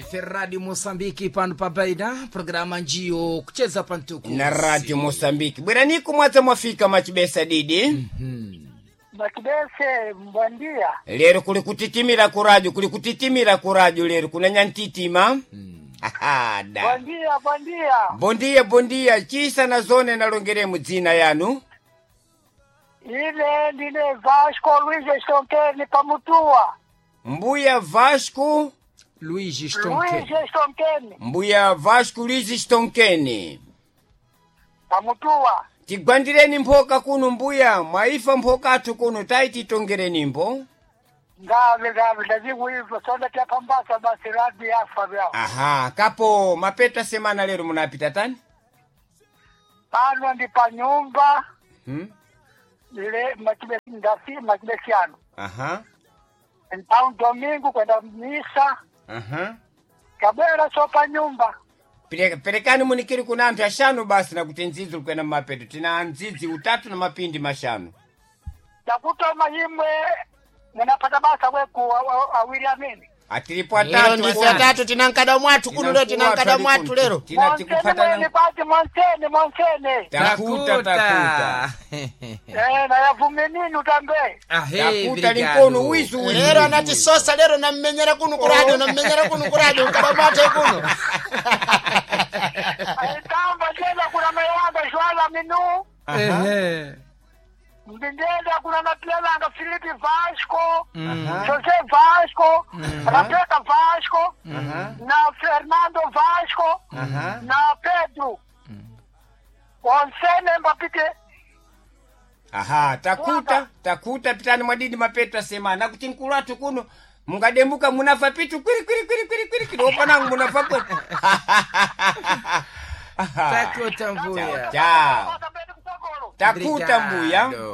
Ife Radio Mosambiki pano pa Baida, programa njiyo kucheza pantuku Na Radio Mosambiki. Bweraniko mwadza mwafika machibesa didi. Machibese mbwandia. Lero kuli kutitimira ku radio, kuli kutitimira ku radio lero kunanya ntitima. Aha, da. Bwandia, bwandia. Bondia bondia chisa na zone nalongeremu dzina yanu. Ile ndine Vasco Luiz Stonkeni pamutua. Mbuya Vasco, Luigi Stonke. Luiz Stonkeni Mbuya Vasco Luiz Stonkeni. pamutua. Tigwandireni mphoka kuno mbuya, mwaifa mphoka athu kuno taititongereni mbo. Ngave ngave ndazikuiva sonda tapambasa basi radi yafa vyao. Aha, kapo mapeta semana lero munapita tani? Pano ndi pa nyumba Hmm? ile machibesi ndasi machibesiano. Aha. Então domingo kwenda misa Aha. kabwera so pa nyumba. Perekani munikiri kuna anthu ashanu basi nakuti ndzidzi likwena mmapeto tina ndzidzi utatu na mapindi mashanu. Takutoma imwe munapata basa weku awiri amene. Atilipo Lero atatu ndife atatu tinankada mwathu kuno lero tinankada mwathu lero. Tina Monsene mwene tikupatana pati monsene monsene. takuta takuta. Eh, nayavume nini utambe. Ahe, Takuta linkono wizu wizu. Lero anatisosa lero nammenyera kuno ku radio nammenyera kuno ku radio nkada mwathu kuno. Aitamba ndenda kuna mayanga Joala Minu. Ehe. Ndenda kuna mapelanga Filipe Vasco, Aha. José Vasco, Rebecca Vasco, na Fernando Vasco, Aha. na Pedro. Onsene mbapite Aha, takuta takuta pitani mwadidi mapeta semana kuti mkulu athu kuno mungademuka munafa pitu kwiri kwiri kwiri kwiri kwiri kwiri opanangu munafa kwiri. Takuta mbuya. Chao. Tambeni kutokolo. Takuta mbuya. Obrigado.